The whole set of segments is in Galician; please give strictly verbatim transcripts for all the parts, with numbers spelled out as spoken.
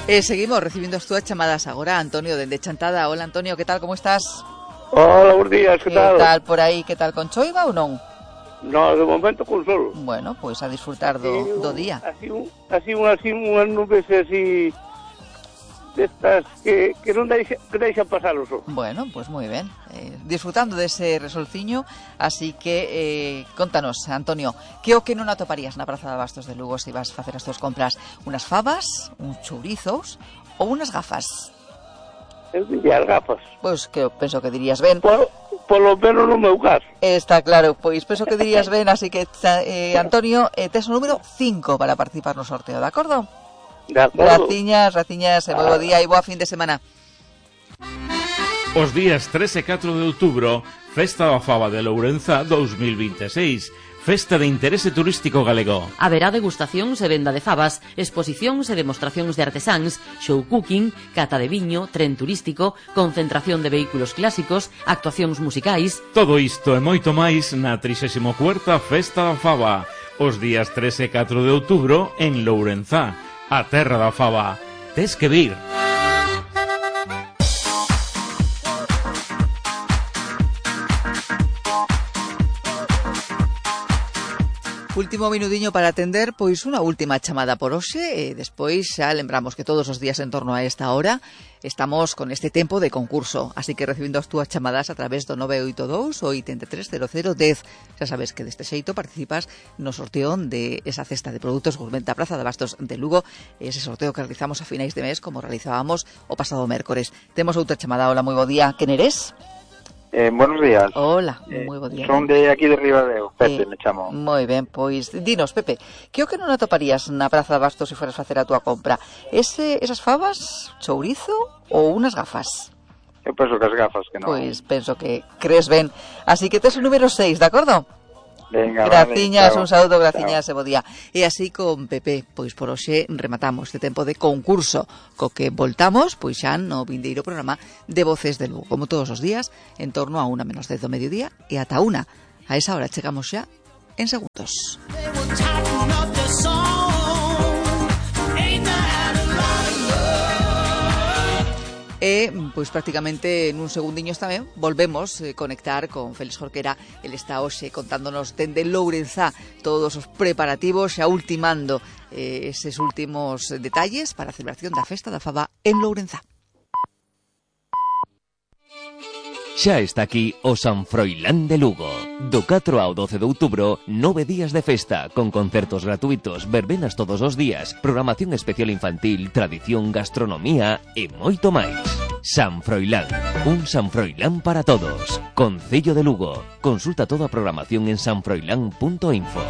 Eh, seguimos recibindo as túas chamadas agora, Antonio, dende Chantada. Hola, Antonio, que tal, como estás? Hola, buenos días, que tal? Que tal por aí, que tal, con choiva ou non? No, de momento con sol. Bueno, pois a disfrutar do, Sí, do día. Así, un, así, un, así unhas nubes así destas que, que non deixan, que deixan pasar o sol. Bueno, pois pues moi ben, eh, disfrutando dese resolciño. Así que, eh, contanos, Antonio, que o que non atoparías na Praza de Abastos de Lugo se vas facer as túas compras? Unas fabas, uns chourizos ou unas gafas? Eu diría as gafas. Pois que eu penso que dirías ben. Por, polo menos no meu caso. Está claro, pois penso que dirías ben, así que, eh, Antonio, eh, tes o número cinco para participar no sorteo, de acordo? De acordo. Graciñas, graciñas, e moi bo día e boa fin de semana. Os días tres e catro de outubro, Festa da Faba de Lourenza dous mil vinte e seis, Festa de Interese Turístico Galego. Haberá degustacións e venda de fabas, exposicións e demostracións de artesáns, show cooking, cata de viño, tren turístico, concentración de vehículos clásicos, actuacións musicais. Todo isto e moito máis na trixésima cuarta Festa da Faba, os días tres e catro de outubro en Lourenza, a terra da faba. Tes que vir. Último minudiño para atender, pois unha última chamada por hoxe, e despois xa lembramos que todos os días en torno a esta hora estamos con este tempo de concurso, así que recibindo as túas chamadas a través do nove oito dous oito tres cero cero dez. Xa sabes que deste xeito participas no sorteo de esa cesta de produtos gourmet da Praza de Abastos de Lugo, ese sorteo que realizamos a finais de mes como realizábamos o pasado mércores. Temos outra chamada. Hola, moi bo día. Quen eres? Eh, buenos días. Hola, eh, moi bo día. Son de aquí de Ribadeo, Pepe, eh, me chamo. Moi ben, pois dinos, Pepe, que o que non atoparías na Praza de Abastos se fueras facer a túa compra? Ese, esas fabas, chourizo ou unas gafas? Eu penso que as gafas que non. Pois penso que crees ben. Así que tes o número seis, de acordo? Venga, graciñas, vale, un saúdo, graciñas e bo día. E así con Pepe, pois por hoxe rematamos este tempo de concurso, co que voltamos pois xa no vindeiro programa de Voces de Lugo, como todos os días, en torno a unha menos dez do mediodía e ata unha. A esa hora chegamos xa en segundos. E, pois prácticamente nun segundiños tamén volvemos a eh, conectar con Félix Jorquera. El está hoxe contándonos dende Lourenza todos os preparativos, xa ultimando eh, eses últimos detalles para a celebración da Festa da Faba en Lourenza. Xa está aquí o San Froilán de Lugo. Do catro ao doce de outubro, nove días de festa, con concertos gratuitos, verbenas todos os días, programación especial infantil, tradición, gastronomía e moito máis. San Froilán, un San Froilán para todos. Concello de Lugo. Consulta toda a programación en san froilán punto info.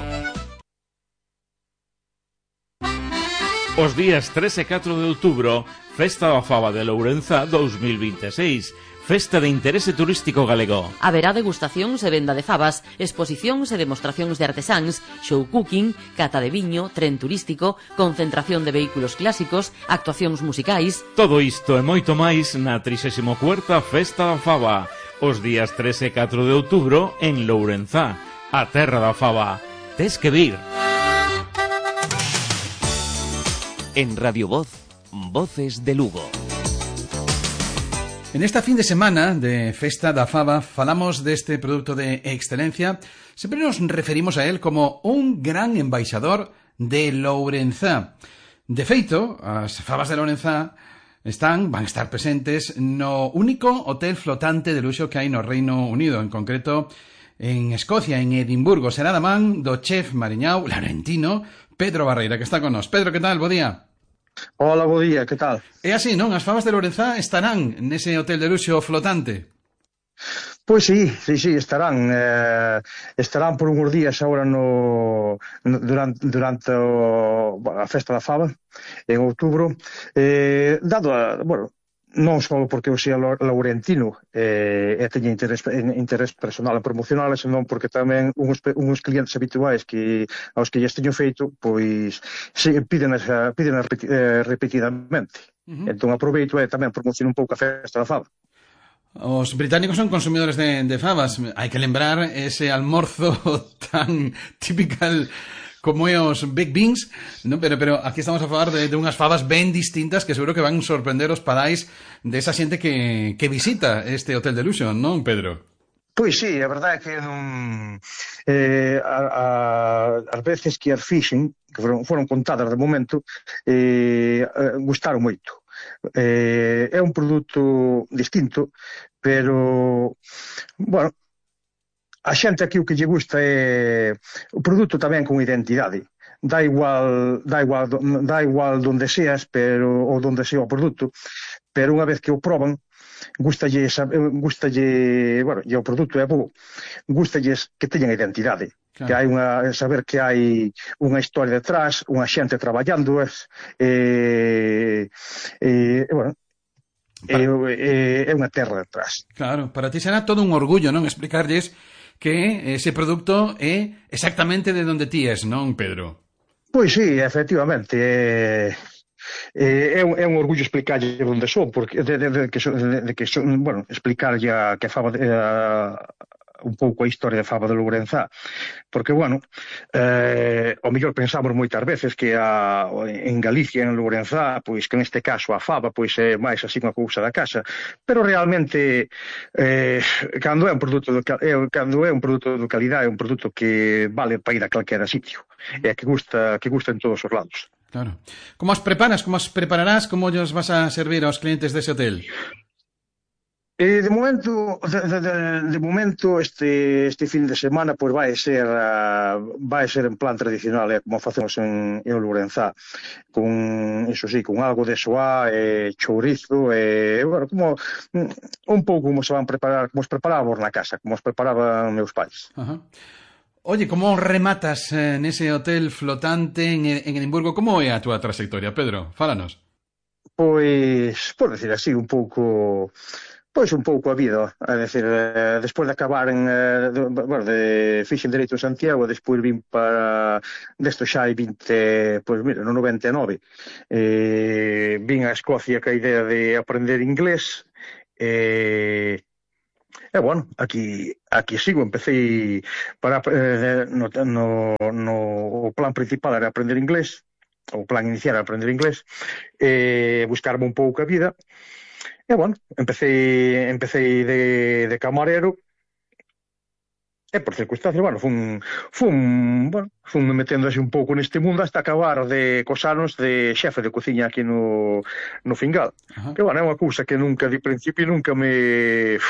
Os días tres e catro de outubro, Festa da Faba de Lourenza dous mil vinte e seis, Festa de Interese Turístico Galego. Haberá degustacións e venda de fabas, exposicións e demostracións de artesáns, show cooking, cata de viño, tren turístico, concentración de vehículos clásicos, actuacións musicais. Todo isto e moito máis na trixésima cuarta Festa da Faba, os días tres e catro de outubro en Lourenza, a terra da faba. Tes que vir. En Radio Voz, Voces de Lugo. En esta fin de semana de Festa da Faba falamos deste produto de excelencia. Sempre nos referimos a él como un gran embaixador de Lourenza. De feito, as fabas de Lourenza están, van estar presentes no único hotel flotante de luxo que hai no Reino Unido, en concreto en Escocia, en Edimburgo. Será da man do chef mariñao laurentino Pedro Barreira, que está con nós. Pedro, que tal? Bo día. Hola, bo día, que tal? É así, non? As fabas de Lourenza estarán nese hotel de luxo flotante? Pois sí, sí, sí, estarán eh, estarán por uns días agora no, no durante, durante o, a festa da faba en outubro, eh, dado a, bueno, non só porque eu sea laurentino eh, e teña interés, interés personal e promocional, senón porque tamén uns, uns clientes habituais que aos que lles teño feito, pois se, piden, piden eh, repetidamente. Uh-huh. Entón aproveito e tamén promociono un pouco a festa da faba. Os británicos son consumidores de, de fabas. Hai que lembrar ese almorzo tan typical como é os Big Beans, non? Pero, pero aquí estamos a falar de, de unhas fabas ben distintas que seguro que van sorprender os padais desa xente que, que visita este Hotel Delusion, non, Pedro? Pois sí, a verdade é que non... Eh, a, a, as veces que as fixen, que foron, foron contadas de momento, eh, gustaron moito. Eh, é un produto distinto, pero, bueno, a xente aquí o que lle gusta é o produto tamén con identidade. Dá igual, dá igual, dá igual donde seas, pero ou donde sea o produto, pero unha vez que o proban, gustalle, gustalle, bueno, e o produto é bo, gustalles que teñan identidade, claro. Que hai unha, saber que hai unha historia detrás, unha xente traballando, e, e, e bueno, para... é, é unha terra detrás. Claro, para ti será todo un orgullo, non? Explicarlles que ese produto é exactamente de onde ti es, non, Pedro? Pois sí, efectivamente, é... É un, é un orgullo explicarlle onde son, porque de, de, de, que, de, de que son, bueno, explicarlle a, que a Faba de, a, un pouco a historia de Faba de Lourenzá, porque, bueno, eh, o mellor pensamos moitas veces que a, en Galicia, en Lourenzá, pois que neste caso a Faba pois é máis así unha cousa da casa, pero realmente eh, cando é un produto de, é, cando é un produto de calidade, é un produto que vale para ir a calquera sitio, e que gusta, que gusta en todos os lados. Claro. Como as preparas, como as prepararás, como os vas a servir aos clientes dese hotel? Eh, de momento, de, de, de momento este este fin de semana pois vai ser uh, vai ser en plan tradicional, eh, como facemos en, en Lourenzá, con eso sí, con algo de soá, eh, chourizo, e eh, bueno, como un pouco como se van preparar, como os preparábamos na casa, como os preparaban meus pais. Ajá. Oye, como rematas eh, nese hotel flotante en, en Edimburgo? Como é a túa trayectoria, Pedro? Fálanos. Pois, por decir así, un pouco... Pois un pouco a vida, é dicir, eh, despois de acabar en, eh, de, bueno, de fixen Dereito en Santiago, despois vim para, desto xa hai vinte, pois mira, no noventa e nove, eh, vim a Escocia ca idea de aprender inglés, e... Eh, E, bueno, aquí aquí sigo, empecé para eh, no, no, no o plan principal era aprender inglés, o plan inicial era aprender inglés, e eh, buscarme un pouco a vida. E, bueno, empecé empecé de, de camarero, e por circunstancias, bueno, fun, fun, bueno, fun me metendo así un pouco neste mundo hasta acabar de cos anos de xefe de cociña aquí no, no Fingal. Uh-huh. Que, bueno, é unha cousa que nunca, de principio, nunca me...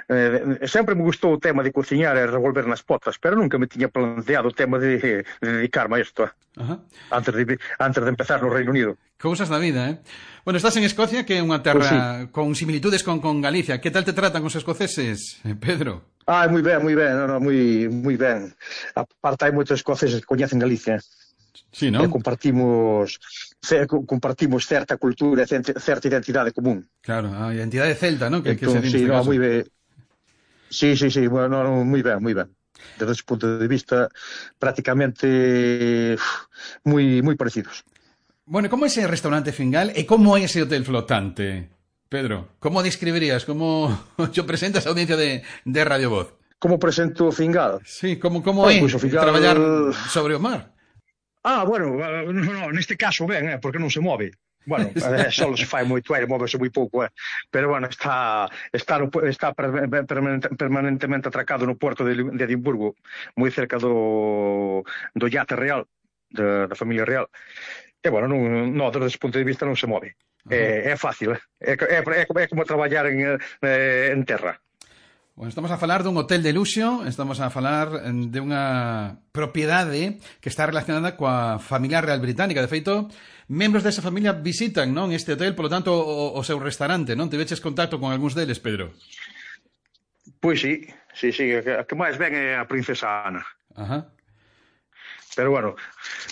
Eh, sempre me gustou o tema de cociñar e revolver nas potas, pero nunca me tiña planteado o tema de, de dedicarme a isto, eh? Uh-huh. antes, de, antes de empezar no Reino Unido. Cousas da vida, eh? Bueno, estás en Escocia, que é unha terra pues sí, con similitudes con, con Galicia. Que tal te tratan os escoceses, Pedro? Ah, moi ben, moi ben, no, no, moi, moi ben. Aparte hai moitos escoceses que coñecen Galicia. Sí, non? E compartimos compartimos certa cultura e certa identidade común. Claro, a identidade celta, non? Que, entón, que se sí, no, moi ben. Sí, sí, sí, bueno, no, moi ben, moi ben. Desde ese punto de vista, prácticamente moi moi parecidos. Bueno, como é ese restaurante Fingal e como é ese hotel flotante? Pedro, como describirías, como yo presentas a audiencia de, de Radio Voz? Como presento o Fingal? Sí, como, como é pues, Fingal... traballar sobre o mar? Ah, bueno, no, no, neste caso ben, eh, porque non se move. Bueno, eh, só se fai moito aire, móvese moi pouco, eh. Pero bueno, está está, no, está permanentemente atracado no porto de, de Edimburgo, moi cerca do, do Yate Real, de, da familia real. E, bueno, non, no, desde ese punto de vista non se move. É, é fácil, é, é, é, é como traballar en, en terra. Bueno, estamos a falar dun hotel de luxo, estamos a falar de unha propiedade que está relacionada coa familia real británica. De feito, membros desa familia visitan, non, este hotel, polo tanto, o, o seu restaurante, non? Tiveches contacto con algúns deles, Pedro? Pois sí, sí, sí, a que máis ven é a princesa Ana. Ajá. Pero, bueno,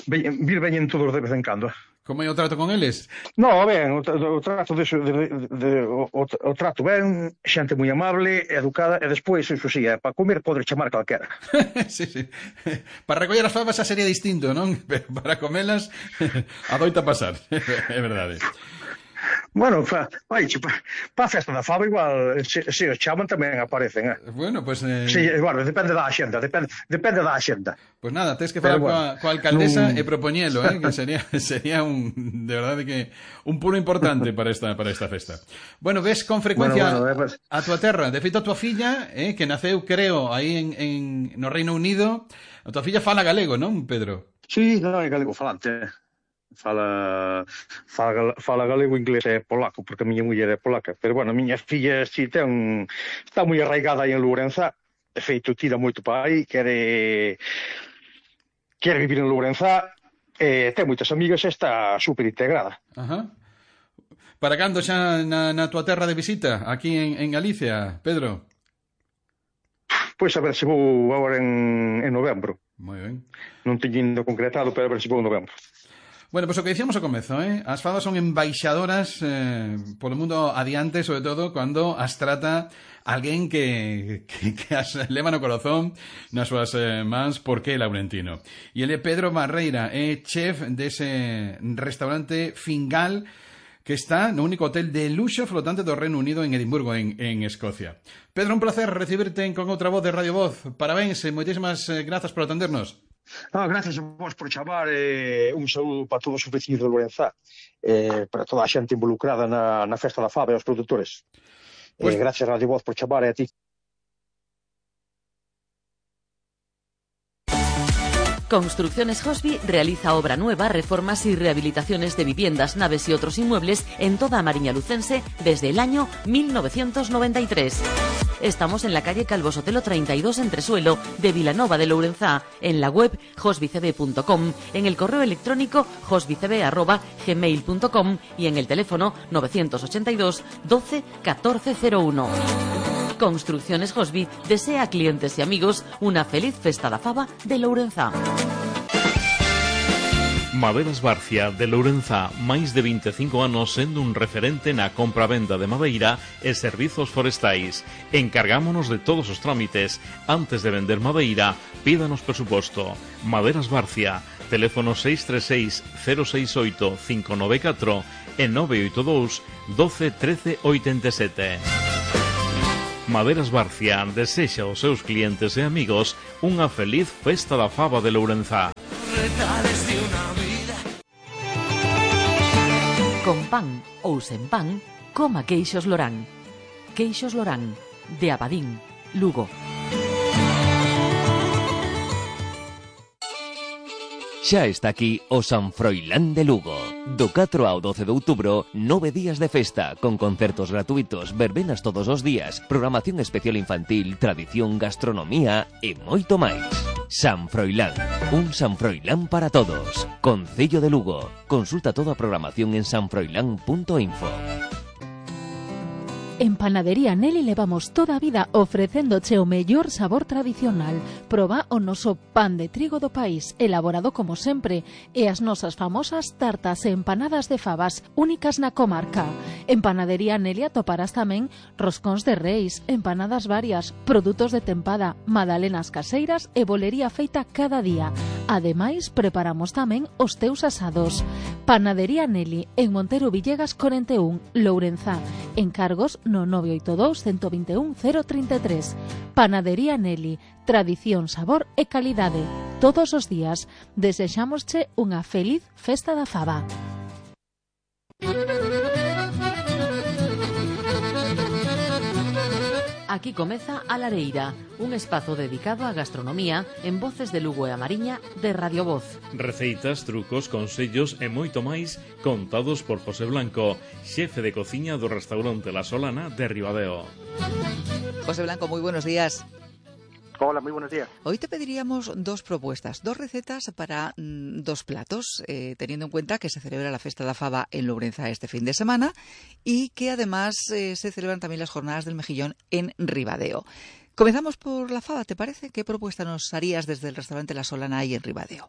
vir veñen todos de vez en cando. Como é o trato con eles? No, ben, o, o trato de, de, de, de o, o trato ben, xente moi amable, educada, e despois, iso sí, para comer pode chamar calquera. Sí, sí. Para recoller as fabas xa sería distinto, non? Pero para comelas adoita pasar, é verdade. Bueno, pa, vai, pa, pa a festa da fava igual, se, se os chaman tamén aparecen, eh? Bueno, pues... Eh... Sí, bueno, depende da axenda, depende, depende da axenda. Pues nada, tens que falar bueno, coa, coa alcaldesa non... e propoñelo, eh, que sería sería un de verdade que un pulo importante para esta para esta festa. Bueno, ves con frecuencia bueno, bueno, pues... a tua terra, de feito a tua filla, eh, que naceu, creo, aí en, en no Reino Unido, a tua filla fala galego, non, Pedro? Sí, non, é galego falante. Fala, fala, fala galego, inglés e polaco, porque a miña muller é polaca. Pero, bueno, a miña filla si ten, está moi arraigada aí en Lourenzá. De feito, tira moito para aí, quere... quere vivir en Lourenzá, e ten moitas amigas e está super integrada. Ajá. Para cando xa na, na tua terra de visita, aquí en, en Galicia, Pedro? Pois a ver se vou agora en, en novembro. Moi ben. Non teño indo concretado, pero a ver se vou en novembro. Bueno, pois pues o que dicíamos ao comezo, eh? As fadas son embaixadoras eh, polo mundo adiante, sobre todo cando as trata alguén que, que, que as leva no corazón nas súas eh, mans porque é laurentino. E ele é Pedro Barreira, é chef dese restaurante Fingal que está no único hotel de luxo flotante do Reino Unido en Edimburgo, en, en Escocia. Pedro, un placer recibirte con outra voz de Radio Voz. Parabéns e moitísimas eh, grazas por atendernos. Ah, gracias a vos por chamar, eh, un saúdo para todos os vecinos de Lourenzá, eh, para toda a xente involucrada na, na festa da fava e os produtores. Pues... Eh, gracias a Radio Voz por chamar e a ti. Construcciones Hosby realiza obra nueva, reformas y rehabilitaciones de viviendas, naves y otros inmuebles en toda Mariña Lucense desde el año mil novecientos noventa y tres. Estamos en la calle Calvo Sotelo treinta y dos Entresuelo de Vilanova de Lourenzá, en la web hosbycb punto com, en el correo electrónico hosbycb arroba gmail punto com y en el teléfono novecientos ochenta y dos doce catorce cero uno. Construcciones Hosby desea a clientes y amigos una feliz festa da fava de Lourenzá. Maderas Barcia de Lourenzá, máis de vinte e cinco anos sendo un referente na compra-venda de madeira e servizos forestais. Encargámonos de todos os trámites. Antes de vender madeira, pídanos presuposto. Maderas Barcia, teléfono seis tres seis cero seis oito cinco nove catro e nove oito dous doce trece oitenta e sete. Maderas Barcia desexa aos seus clientes e amigos unha feliz festa da fava de Lourenzá. Con pan ou sen pan, coma queixos Lorán. Queixos Lorán, de Abadín, Lugo. Xa está aquí o San Froilán de Lugo. Do catro ao doce de outubro, nove días de festa, con concertos gratuitos, verbenas todos os días, programación especial infantil, tradición, gastronomía e moito máis. San Froilán, un San Froilán para todos. Concello de Lugo. Consulta toda a programación en sanfroilán punto info. En Panadería Nelly levamos toda a vida ofrecéndoche o mellor sabor tradicional. Proba o noso pan de trigo do país, elaborado como sempre, e as nosas famosas tartas e empanadas de favas, únicas na comarca. En Panadería Nelly atoparás tamén roscóns de reis, empanadas varias, produtos de tempada, magdalenas caseiras e bolería feita cada día. Ademais, preparamos tamén os teus asados. Panadería Nelly, en Montero Villegas cuarenta y uno, Lourenzá. Encargos no nove oito dous, uno dos uno, cero treinta e tres. Panadería Nelly, tradición, sabor e calidade. Todos os días desexámosche unha feliz festa da fava. Aquí comeza A Lareira, un espazo dedicado á gastronomía en Voces de Lugo e a Mariña de Radio Voz. Receitas, trucos, consellos e moito máis contados por José Blanco, xefe de cociña do restaurante La Solana de Ribadeo. José Blanco, moi buenos días. Hola, muy buenos días. Hoy te pediríamos dos propuestas, dos recetas para mmm, dos platos, eh, teniendo en cuenta que se celebra la Festa da Fava en Lourenzá este fin de semana y que además eh, se celebran también las jornadas del mejillón en Ribadeo. Comenzamos por la fava, ¿te parece? ¿Qué propuesta nos harías desde el restaurante La Solana ahí en Ribadeo?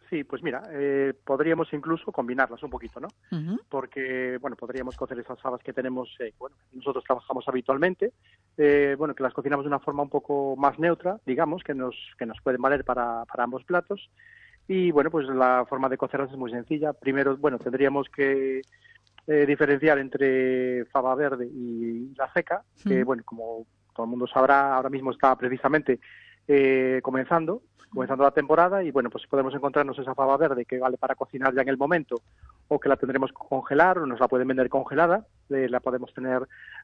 Sí, pues mira, eh, podríamos incluso combinarlas un poquito, ¿no? Uh-huh. Porque, bueno, podríamos cocer esas fabas que tenemos, eh, bueno, nosotros trabajamos habitualmente, eh, bueno, que las cocinamos de una forma un poco más neutra, digamos, que nos que nos pueden valer para, para ambos platos. Y, bueno, pues la forma de cocerlas es muy sencilla. Primero, bueno, tendríamos que eh, diferenciar entre fava verde y la seca, que, mm. bueno, como todo el mundo sabrá, ahora mismo está precisamente eh, comenzando, comenzando la temporada y, bueno, pues podemos encontrarnos esa fava verde que vale para cocinar ya en el momento o que la tendremos que congelar o nos la pueden vender congelada, eh, la podemos tener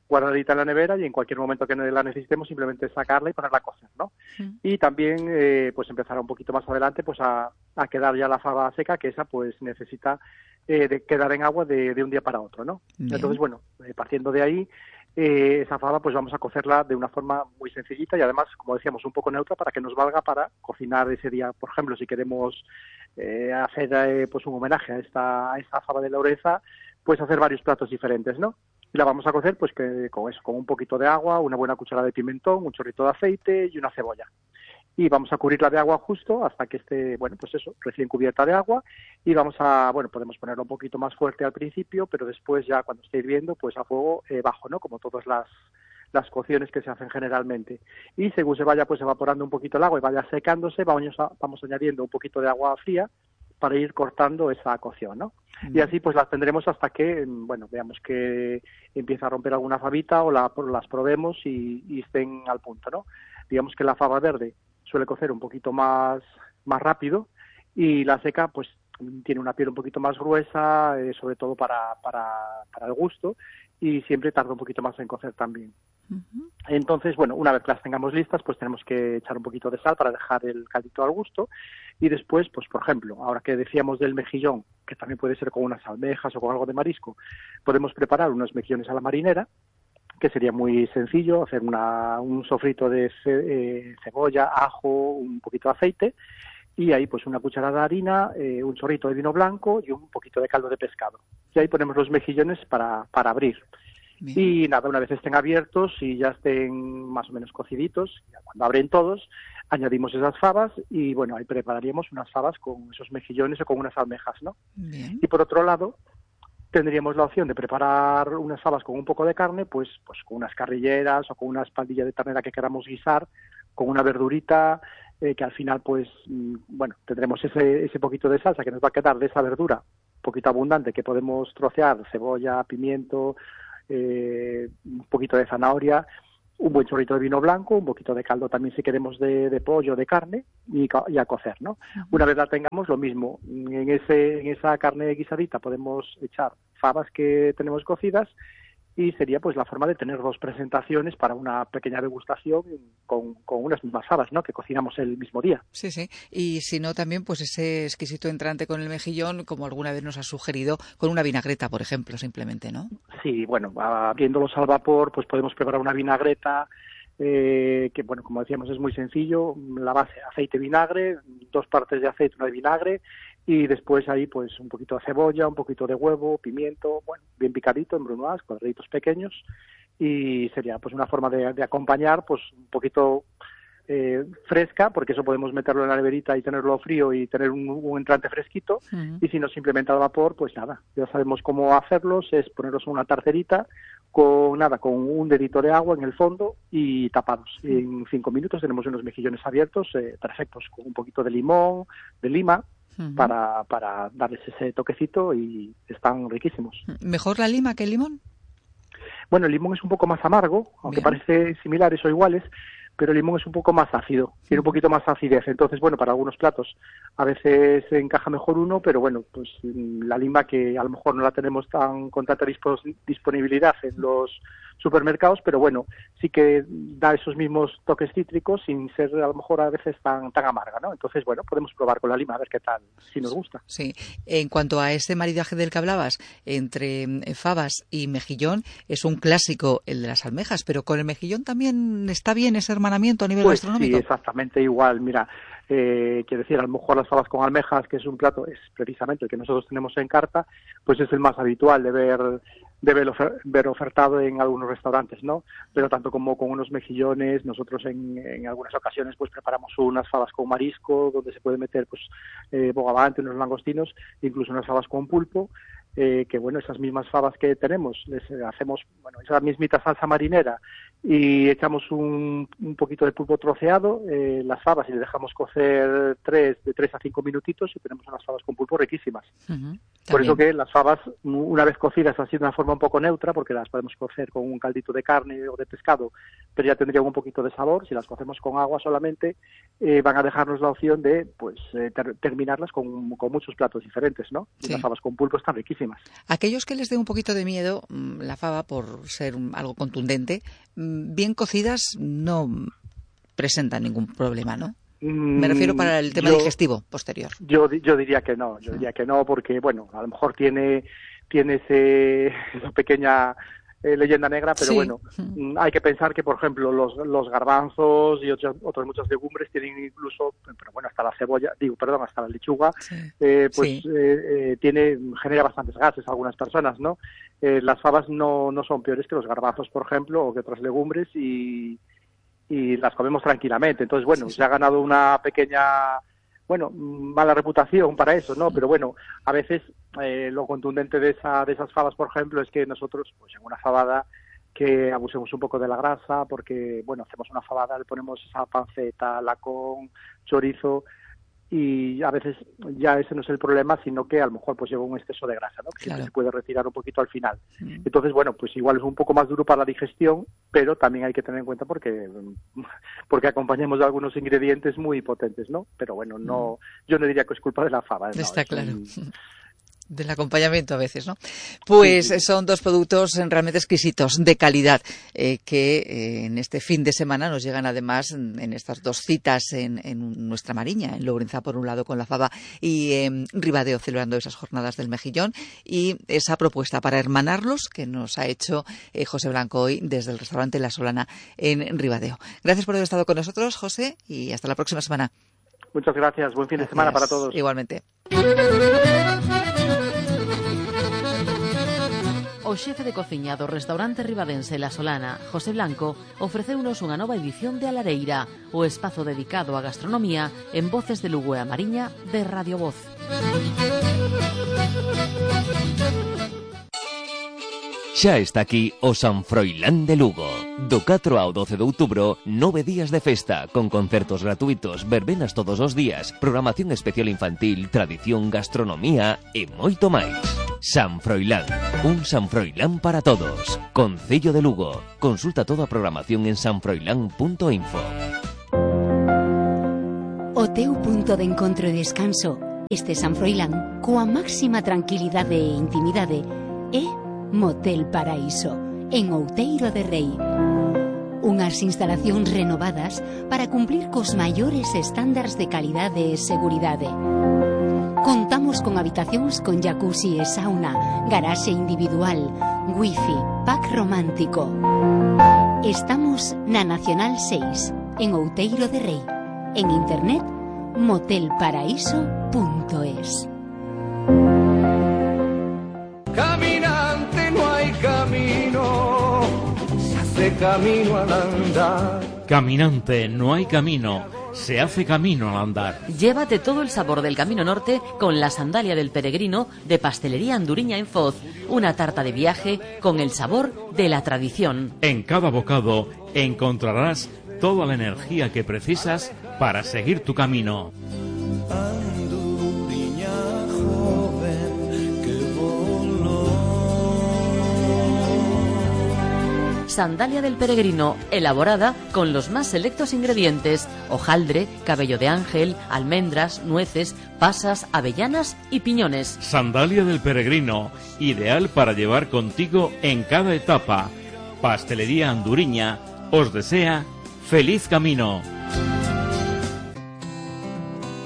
guardadita en la nevera y en cualquier momento que la necesitemos simplemente sacarla y ponerla a cocer, ¿no? Sí. Y también, eh, pues empezar un poquito más adelante pues a, a quedar ya la fava seca, que esa pues necesita eh, de quedar en agua de, de un día para otro, ¿no? Bien. Entonces, bueno, eh, partiendo de ahí, Eh, esa fava pues vamos a cocerla de una forma muy sencillita y además, como decíamos, un poco neutra para que nos valga para cocinar ese día. Por ejemplo, si queremos eh, hacer eh, pues un homenaje a esta, a esta fava de Laureza, pues hacer varios platos diferentes, ¿no? Y la vamos a cocer pues que con eso, con un poquito de agua, una buena cucharada de pimentón, un chorrito de aceite y una cebolla. Y vamos a cubrirla de agua justo hasta que esté, bueno, pues eso, recién cubierta de agua y vamos a, bueno, podemos ponerlo un poquito más fuerte al principio, pero después ya cuando esté hirviendo, pues a fuego eh, bajo, ¿no? Como todas las, las cocciones que se hacen generalmente. Y según se vaya pues evaporando un poquito el agua y vaya secándose, vamos, a, vamos añadiendo un poquito de agua fría para ir cortando esa cocción, ¿no? Mm. Y así pues las tendremos hasta que, bueno, veamos que empieza a romper alguna fabita o la, las probemos y, y estén al punto, ¿no? Digamos que la fava verde suele cocer un poquito más, más rápido y la seca pues tiene una piel un poquito más gruesa, eh, sobre todo para, para, para el gusto y siempre tarda un poquito más en cocer también. Uh-huh. Entonces, bueno, una vez que las tengamos listas, pues tenemos que echar un poquito de sal para dejar el caldito al gusto y después, pues por ejemplo, ahora que decíamos del mejillón, que también puede ser con unas almejas o con algo de marisco, podemos preparar unos mejillones a la marinera, que sería muy sencillo, hacer una, un sofrito de ce, eh, cebolla, ajo, un poquito de aceite y ahí pues una cucharada de harina, eh, un chorrito de vino blanco y un poquito de caldo de pescado. Y ahí ponemos los mejillones para, para abrir. Bien. Y nada, una vez estén abiertos y ya estén más o menos cociditos, ya cuando abren todos, añadimos esas fabas y bueno, ahí prepararíamos unas fabas con esos mejillones o con unas almejas, ¿no? Bien. Y por otro lado, tendríamos la opción de preparar unas fabas con un poco de carne, pues, pues con unas carrilleras o con una espaldilla de ternera que queramos guisar, con una verdurita, eh, que al final, pues, mm, bueno, tendremos ese, ese poquito de salsa que nos va a quedar de esa verdura, un poquito abundante, que podemos trocear, cebolla, pimiento, eh, un poquito de zanahoria, un buen chorrito de vino blanco, un poquito de caldo también si queremos de, de pollo, de carne, y, y a cocer, ¿no? Uh-huh. Una vez la tengamos, lo mismo, en ese en esa carne guisadita podemos echar fabas que tenemos cocidas y sería pues la forma de tener dos presentaciones para una pequeña degustación con, con unas mismas fabas, ¿no? Que cocinamos el mismo día. Sí, sí. Y si no, también pues ese exquisito entrante con el mejillón, como alguna vez nos has sugerido, con una vinagreta, por ejemplo, simplemente, ¿no? Sí, bueno, abriéndolos al vapor, pues podemos preparar una vinagreta, eh, que bueno, como decíamos, es muy sencillo. La base, aceite, vinagre, dos partes de aceite, una de vinagre, y después ahí pues un poquito de cebolla, un poquito de huevo, pimiento, bueno, bien picadito en brunoise, cuadraditos pequeños, y sería pues una forma de, de acompañar pues un poquito eh, fresca, porque eso podemos meterlo en la neverita y tenerlo frío y tener un, un entrante fresquito, uh-huh. Y si no simplemente al vapor, pues nada, ya sabemos cómo hacerlos, es ponerlos en una tarterita con nada, con un dedito de agua en el fondo y tapados. Uh-huh. En cinco minutos tenemos unos mejillones abiertos, eh, perfectos, con un poquito de limón, de lima, Uh-huh. Para, para darles ese toquecito y están riquísimos. ¿Mejor la lima que el limón? Bueno, el limón es un poco más amargo, aunque Bien. Parece similares o iguales, pero el limón es un poco más ácido, tiene un poquito más acidez. Entonces, bueno, para algunos platos a veces encaja mejor uno, pero bueno, pues la lima que a lo mejor no la tenemos tan con tanta dispos, disponibilidad en los supermercados, pero bueno, sí que da esos mismos toques cítricos sin ser a lo mejor a veces tan tan amarga, ¿no? Entonces, bueno, podemos probar con la lima a ver qué tal, si nos gusta. Sí, en cuanto a ese maridaje del que hablabas, entre fabas y mejillón, es un clásico el de las almejas, pero con el mejillón también está bien ese hermanamiento a nivel pues gastronómico. Sí, exactamente igual, mira, eh, quiero decir, a lo mejor las fabas con almejas, que es un plato, es precisamente el que nosotros tenemos en carta, pues es el más habitual de ver de ver, ofer- ver ofertado en algunos restaurantes, ¿no? Pero tanto como con unos mejillones, nosotros en, en algunas ocasiones pues preparamos unas fabas con marisco, donde se puede meter pues eh, bogavante, unos langostinos, incluso unas fabas con pulpo, eh, que bueno, esas mismas fabas que tenemos, les hacemos, bueno, esa mismita salsa marinera y echamos un, un poquito de pulpo troceado, eh, las fabas, y le dejamos cocer tres, de tres a cinco minutitos y tenemos unas fabas con pulpo riquísimas. Uh-huh. Por eso que las fabas, una vez cocidas así de una forma un poco neutra, porque las podemos cocer con un caldito de carne o de pescado, pero ya tendrían un poquito de sabor. Si las cocemos con agua solamente, eh, van a dejarnos la opción de pues eh, ter- terminarlas con, con muchos platos diferentes, ¿no? Y sí. las fabas con pulpo están riquísimas. Aquellos que les dé un poquito de miedo la fava por ser un, algo contundente, bien cocidas no presentan ningún problema, ¿no? Me refiero para el tema yo, digestivo posterior. Yo yo diría que no, yo diría que no, porque, bueno, a lo mejor tiene, tiene ese, esa pequeña eh, leyenda negra, pero sí. bueno, mm. hay que pensar que, por ejemplo, los, los garbanzos y otras, otras muchas legumbres tienen incluso, pero bueno, hasta la cebolla, digo, perdón, hasta la lechuga, sí. eh, pues sí. eh, eh, tiene, genera bastantes gases a algunas personas, ¿no? Eh, las fabas no, no son peores que los garbanzos, por ejemplo, o que otras legumbres, y y las comemos tranquilamente. Entonces, bueno, sí, sí. se ha ganado una pequeña, bueno, mala reputación para eso, ¿no? Pero bueno, a veces eh, lo contundente de esa de esas fabas, por ejemplo, es que nosotros, pues en una fabada, que abusemos un poco de la grasa, porque, bueno, hacemos una fabada, le ponemos esa panceta, lacón, chorizo, y a veces ya ese no es el problema, sino que a lo mejor pues lleva un exceso de grasa, ¿no? Que claro. se puede retirar un poquito al final. Mm. Entonces, bueno, pues igual es un poco más duro para la digestión, pero también hay que tener en cuenta porque porque acompañamos de algunos ingredientes muy potentes, ¿no? Pero bueno, no, mm. yo no diría que es culpa de la fava. ¿No? Está claro. Un... del acompañamiento a veces, ¿no? Pues sí, sí. son dos productos realmente exquisitos, de calidad, eh, que eh, en este fin de semana nos llegan además en, en estas dos citas en, en nuestra Mariña, en Lourenzá por un lado con la fava y en Ribadeo celebrando esas jornadas del mejillón, y esa propuesta para hermanarlos que nos ha hecho eh, José Blanco hoy desde el restaurante La Solana en Ribadeo. Gracias por haber estado con nosotros, José, y hasta la próxima semana. Muchas gracias, buen fin gracias. de semana para todos. Igualmente. O xefe de cociña do restaurante ribadense La Solana, José Blanco, ofreceunos unha nova edición de A Lareira, o espazo dedicado á gastronomía en Voces de Lugo e a Mariña de Radio Voz. Xa está aquí o San Froilán de Lugo. Do catro ao doce de outubro, nove días de festa, con concertos gratuitos, verbenas todos os días, programación especial infantil, tradición, gastronomía e moito máis. San Froilán, un San Froilán para todos. Concello de Lugo. Consulta toda a programación en sanfroilán punto info. O teu punto de encontro e descanso, este San Froilán, coa máxima tranquilidade e intimidade, é Motel Paraíso, en Outeiro de Rei. Unhas instalacións renovadas para cumplir cos maiores estándares de calidade e seguridade. Contamos con habitacións con jacuzzi e sauna, garaxe individual, wifi, pack romántico. Estamos na Nacional seis, en Outeiro de Rei. En internet, motel paraíso punto es. Caminante no hay camino, se hace camino al andar. Caminante no hay camino, se hace camino al andar. Llévate todo el sabor del Camino Norte con la sandalia del peregrino de Pastelería Anduriña en Foz. Una tarta de viaje con el sabor de la tradición. En cada bocado encontrarás toda la energía que precisas para seguir tu camino. Sandalia del peregrino, elaborada con los más selectos ingredientes: hojaldre, cabello de ángel, almendras, nueces, pasas, avellanas y piñones. Sandalia del peregrino, ideal para llevar contigo en cada etapa. Pastelería Anduriña os desea feliz camino.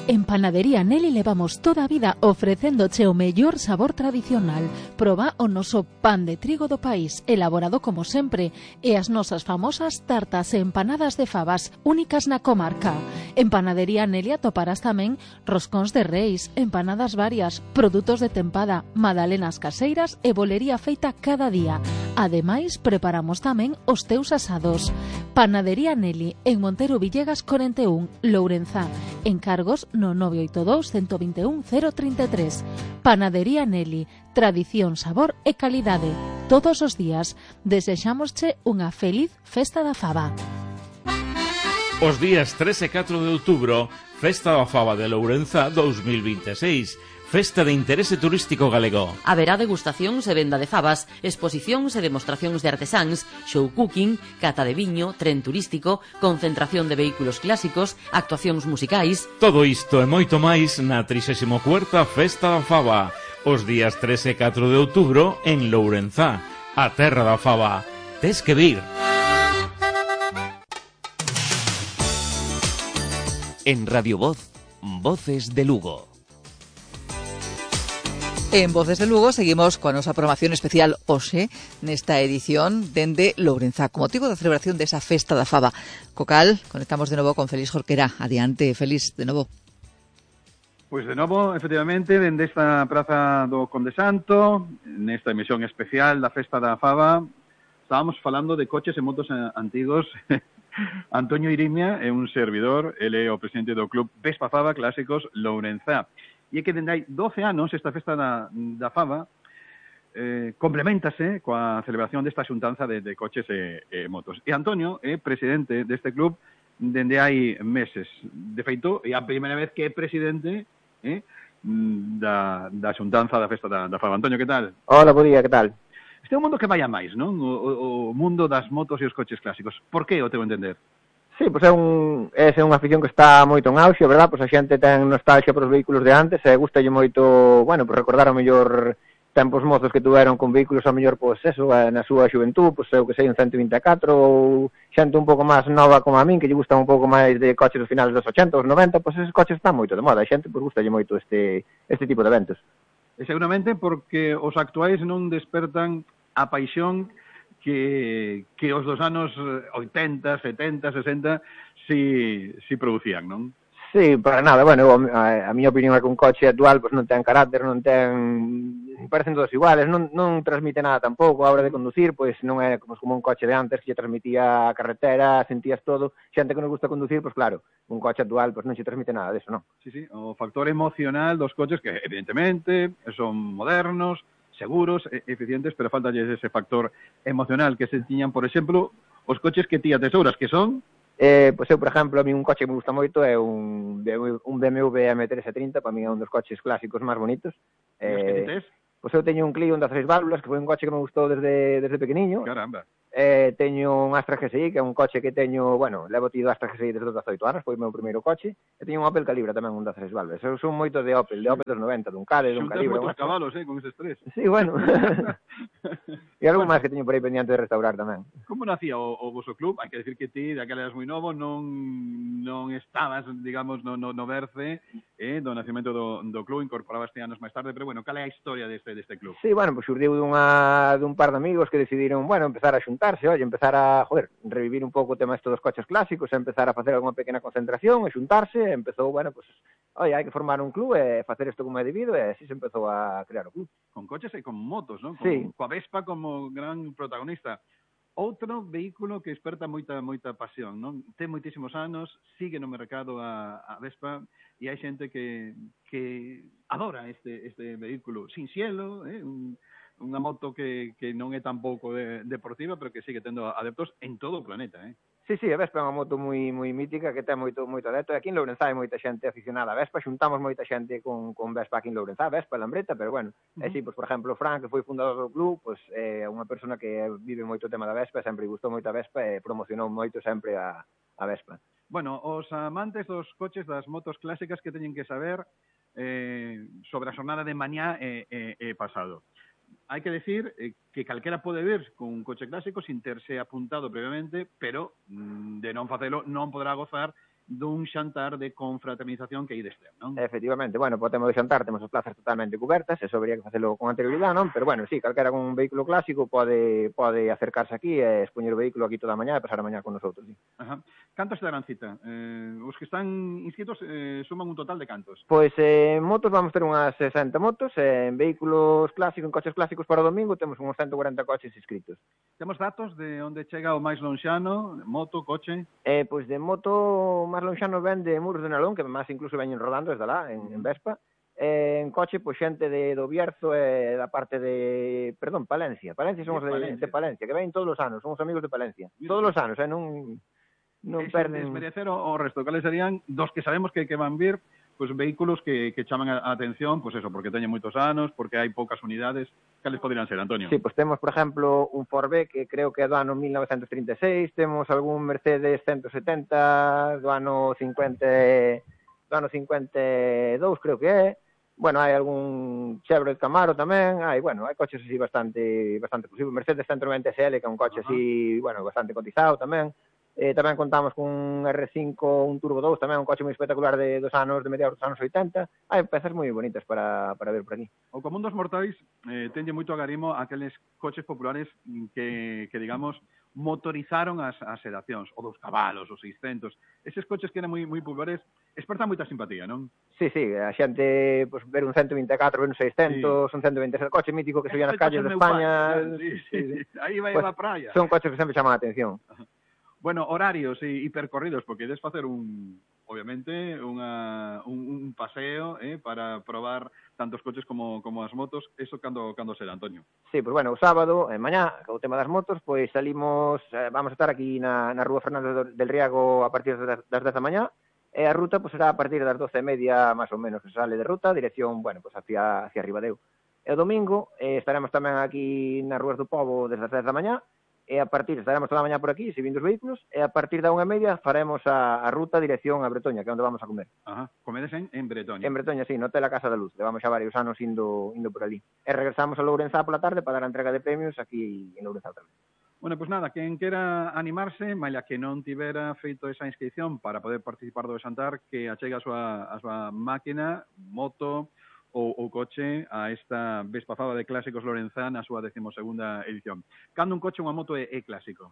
En Panadería Nelly levamos toda a vida ofrecéndoche o mellor sabor tradicional. Proba o noso pan de trigo do país, elaborado como sempre, e as nosas famosas tartas e empanadas de favas, únicas na comarca. En Panadería Nelly atoparás tamén roscóns de reis, empanadas varias, produtos de tempada, magdalenas caseiras e bolería feita cada día. Ademais, preparamos tamén os teus asados. Panadería Nelly, en Montero Villegas cuarenta e un, Lourenzá. Encargos no nove oito dous, uno dos un, cero tres tres. Panadería Nelly, tradición, sabor e calidade. todos os días. Desexámosche unha feliz Festa da Faba. Os días tres e catro de outubro, Festa da Faba de Lourenza dous mil vinte e seis. Festa de interese turístico galego. Haberá degustacións e venda de fabas, exposicións e demostracións de artesáns, show cooking, cata de viño, tren turístico, concentración de vehículos clásicos, actuacións musicais. Todo isto e moito máis na trixésima cuarta Festa da Faba, os días tres e catro de outubro en Lourenza, a terra da faba. Tes que vir. En Radio Voz, Voces de Lugo. En Voces de Lugo seguimos coa nosa programación especial hoxe nesta edición dende Lourenza, con motivo da celebración desa Festa da Faba. Co cal, conectamos de novo con Félix Jorquera. Adiante, Félix, de novo. Pois de novo, efectivamente, dende esta praza do Conde Santo, nesta emisión especial da Festa da Faba, estábamos falando de coches e motos antigos. Antonio Irimia é un servidor, ele é o presidente do Club Vespa Faba Clásicos Lourenza. E é que dende hai doce anos esta Festa da, da Faba eh, complementase coa celebración desta xuntanza de, de coches e, e motos. E Antonio é presidente deste club dende hai meses. De feito, é a primeira vez que é presidente eh, da, da xuntanza da Festa da, da Faba. Antonio, que tal? Hola, bo día, que tal? Este é un mundo que vai a máis, non? O, o, o mundo das motos e os coches clásicos. Por que o teu entender? Sí, pois é un é unha afición que está moito en auxe, verdad? Pois a xente ten nostalgia por os vehículos de antes e gustalle moito, bueno, pois recordar o mellor tempos mozos que tuveron con vehículos ao mellor, pois eso, na súa xuventud, pois eu que sei, un ciento vinte e catro, ou xente un pouco máis nova como a min, que lle gustan un pouco máis de coches dos finales dos ochenta, dos noventa, pois esos coches están moito de moda, a xente pois gustalle moito este este tipo de eventos. E seguramente porque os actuais non despertan a paixón que, que os dos anos oitenta, setenta, sesenta si, si producían, non? Sí, para nada, bueno, a, a miña opinión é que un coche actual pues, non ten carácter, non ten... parecen todos iguales, non, non transmite nada tampouco a hora de conducir, pois non é como, como un coche de antes que transmitía a carretera, sentías todo, xente que nos gusta conducir, pois claro, un coche actual pois non se transmite nada deso, non? Sí, sí, o factor emocional dos coches que evidentemente son modernos, seguros, eficientes, pero falta ese factor emocional que se tiñan, por exemplo, os coches que ti atesouras, que son... Eh, pois eu, por exemplo, a mí un coche que me gusta moito é un, un B M W M trescentos trinta, para mí é un dos coches clásicos máis bonitos. E os que ti tes? Pois eu teño un Clio, un das tres válvulas, que foi un coche que me gustou desde, desde pequeniño. Caramba. Eh, teño un Astra G S I, que é un coche que teño, bueno, levo tido Astra G S I desde os dezoito anos, foi o meu primeiro coche. E teño un Opel Calibra tamén, un das tres válvulas. Eu son moito de Opel, de Opel dos noventa, dun Cade, dun Calibra. Xuntas moitos cabalos, eh, con eses tres. Sí, bueno. E algo máis que teño por aí pendiente de restaurar tamén. Como nacía o, o vosso club? Hai que decir que ti, daquela eras moi novo, non non estabas, digamos, no, no, no berce eh, do nacimento do, do club, incorporabaste anos máis tarde, pero bueno, cal é a historia deste, deste club? Sí, bueno, pues xurdiu dunha, dun par de amigos que decidiron, bueno, empezar a xuntarse, oye, empezar a, joder, revivir un pouco o tema estes dos coches clásicos, empezar a facer alguna pequena concentración, e xuntarse, empezou, bueno, pues, oye, hai que formar un club e facer isto como é debido, e así se empezou a crear o club. Con coches e con motos, non? Con, Sí. Coa Vespa como gran protagonista. Outro vehículo que esperta moita moita pasión, non? Ten moitísimos anos, sigue no mercado a, a Vespa e hai xente que, que adora este este vehículo sin cielo, eh? Un, unha moto que, que non é tampouco de, deportiva, pero que sigue tendo adeptos en todo o planeta, eh? Sí, sí, a Vespa é unha moto moi moi mítica que ten moito moito adepto. Aquí en Lourenza hai moita xente aficionada a Vespa, xuntamos moita xente con, con Vespa aquí en Lourenza, Vespa, Lambreta, pero bueno, uh-huh. E si, pois, por exemplo, Fran, que foi fundador do club, pois é unha persona que vive moito o tema da Vespa, sempre gustou moito a Vespa e promocionou moito sempre a, a Vespa. Bueno, os amantes dos coches, das motos clásicas que teñen que saber eh, sobre a xornada de mañá e, e, e pasado. Hai que decir eh, que calquera pode vir con un coche clásico sin terse apuntado previamente, pero mm, de non facelo non podrá gozar dun xantar de confraternización que aí deste, non? Efectivamente, bueno, podemos de xantar, temos as plazas totalmente cubertas, eso habría que facelo con anterioridade, non? Pero bueno, sí, calquera con un vehículo clásico pode pode acercarse aquí e expoñer o vehículo aquí toda a mañá e pasar a mañá con nosotros, sí. Ajá. Cantos te darán cita? Eh, os que están inscritos eh, suman un total de cantos? Pois eh, en motos vamos ter unhas sesenta motos, eh, en vehículos clásicos, en coches clásicos para o domingo temos uns ciento cuarenta coches inscritos. Temos datos de onde chega o máis lonxano, moto, coche? Eh, pois de moto máis lonxano ven de Muros de Nalón, que máis incluso veñen rodando desde lá, en, en Vespa, Eh, en coche, pois xente de do Bierzo e da parte de, perdón, Palencia. Palencia somos de, de, Palencia. de Palencia, que ven todos os anos, somos amigos de Palencia. Mira, todos os anos, eh, non non perden. Desmerecer o resto, cales serían dos que sabemos que, que van vir, pois vehículos que, que chaman a atención, pois eso, porque teñen moitos anos, porque hai poucas unidades, cales poderían ser, Antonio? Sí, pois temos, por exemplo, un Ford B, que creo que é do ano mil novecentos trinta e seis, temos algún Mercedes ciento setenta do ano cincuenta, do ano cincuenta e dous, creo que é. Bueno, hai algún Chevrolet Camaro tamén, hai, bueno, hai coches así bastante bastante exclusivos. Mercedes ciento noventa S L, que é un coche uh-huh. así, bueno, bastante cotizado tamén. Eh, tamén contamos con un R cinco, un Turbo dous, tamén un coche moi espectacular de dos anos, de mediados dos anos oitenta. Hai pezas moi bonitas para, para ver por aquí. O común dos mortais eh, tenlle moito agarimo aqueles coches populares que, que digamos, motorizaron as, as sedacións, o dos cabalos, os seiscentos. Eses coches que eran moi moi populares, espertan moita simpatía, non? Sí, sí, a xente, pues, ver un ciento vinte e catro, ver un seiscentos, sí. un ciento vinte e seis, coche mítico que se veía nas calles de España. Sí, sí, sí. Aí vai pues, a praia. Son coches que sempre chaman a atención. Bueno, horarios e, e percorridos, porque ides facer un, obviamente, unha, un, un paseo eh, para probar tantos coches como, como as motos. Eso cando, cando será, Antonio? Sí, pues bueno, o sábado, en mañá, o tema das motos, pois salimos, eh, vamos a estar aquí na, na Rúa Fernández del Riago a partir das, das dez da mañá, e a ruta pues, será a partir das doce e media, máis ou menos, que sale de ruta, dirección, bueno, pues hacia, hacia Ribadeo. E o domingo eh, estaremos tamén aquí nas Rúas do Pobo desde as dez da mañá, e a partir, estaremos toda a mañá por aquí, subindo os vehículos, e a partir da unha e media faremos a, a ruta dirección a Bretoña, que é onde vamos a comer. Ajá, comedes en, en Bretoña. En Bretoña, sí, no Hotel a Casa da Luz, levamos xa varios anos indo, indo por ali. E regresamos a Lourenzá pola tarde para dar a entrega de premios aquí en Lourenzá tamén. Bueno, pues nada, quen quera animarse, maila que non tivera feito esa inscripción para poder participar do Xantar, que achegue a súa, a súa máquina, moto ou, ou coche a esta Vespa Faba de Clásicos Lourenzá na súa decimosegunda edición. Cando un coche ou unha moto é, é clásico?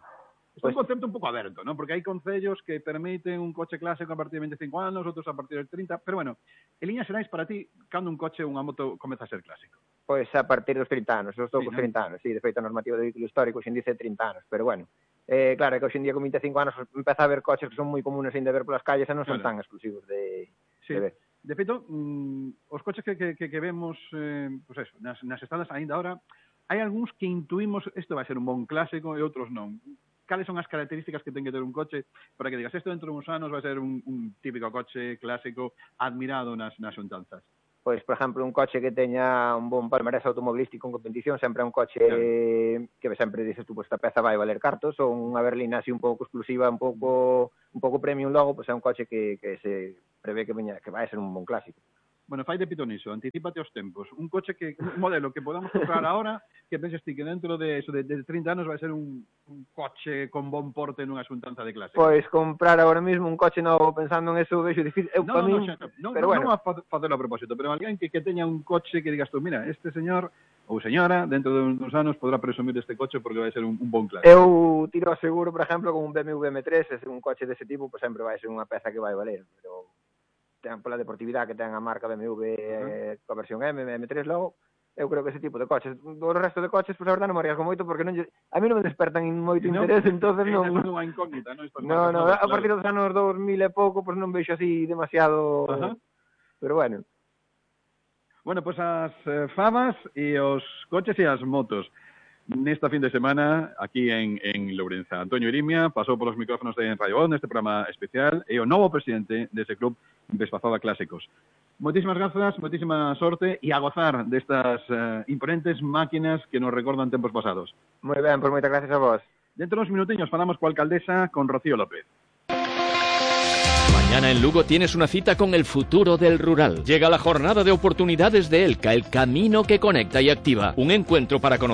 É pues, un concepto un pouco aberto, ¿no? Porque hai concellos que permiten un coche clásico a partir de veinticinco anos, outros a partir de trinta, pero bueno, en líneas xerais para ti, cando un coche ou unha moto comeza a ser clásico? Pois a partir dos trinta anos, os sí, toucos ¿no? trinta anos, sí, de feito a normativa de vehículo histórico xin dice trinta anos, pero bueno, eh, claro, é que hoxe en día con veinticinco anos empeza a haber coches que son moi comunes ainda ver polas calles e non son claro. tan exclusivos de, sí. de ver. De feito, mm, os coches que, que, que vemos eh, pues eso, nas, nas estradas ainda ahora, hai algúns que intuimos isto vai ser un bon clásico e outros non. Cales son as características que ten que ter un coche para que digas, isto dentro de uns anos vai ser un, un típico coche clásico admirado nas, nas xuntanzas? Pois, por exemplo, un coche que teña un bon palmarés automobilístico en competición, sempre é un coche claro. que sempre dices tú, pois esta peza vai valer cartos, ou unha berlina así un pouco exclusiva, un pouco un pouco premium logo, pois é un coche que, que se prevé que veña, que vai ser un bon clásico. Bueno, fai de pitoniso, anticípate aos tempos. Un coche que, un modelo que podamos comprar ahora, que penses ti que dentro de eso, de, de trinta anos vai ser un, un coche con bon porte nunha xuntanza de clase. Pois comprar agora mesmo un coche novo pensando en eso, vexo difícil. Eu, no, para no, mí, no, no, pero no, bueno. non a facelo a propósito, pero alguén que, que teña un coche que digas tú, mira, este señor ou señora, dentro de uns anos podrá presumir deste coche porque vai ser un, un bon clase. Eu tiro a seguro, por exemplo, con un B M W M tres, é un coche dese tipo, pois sempre vai ser unha peza que vai valer, pero ten pola deportividade que ten a marca B M W uh-huh. eh, coa versión M, M tres logo, eu creo que ese tipo de coches, do resto de coches, pois a verdade non me arriesgo moito porque non lle, a mí non me despertan moito no, interés, entonces non. É unha incógnita, non? No, no, a partir dos anos dos mil e pouco, pois non vexo así demasiado, uh-huh. pero bueno. Bueno, pois as eh, fabas e os coches e as motos nesta fin de semana aquí en, en Lourenzá. Antonio Irimia pasou polos micrófonos de Radio On neste programa especial e o novo presidente dese club Vespa Faba Clásicos. Moitísimas grazas, moitísima sorte e a gozar destas uh, imponentes máquinas que nos recordan tempos pasados. Moi ben, pois moitas gracias a vos. Dentro dos minutiños falamos coa alcaldesa, con Rocío López. Mañana en Lugo tienes una cita con el futuro del rural. Llega la jornada de oportunidades de ELCA, el camino que conecta y activa. Un encuentro para conocer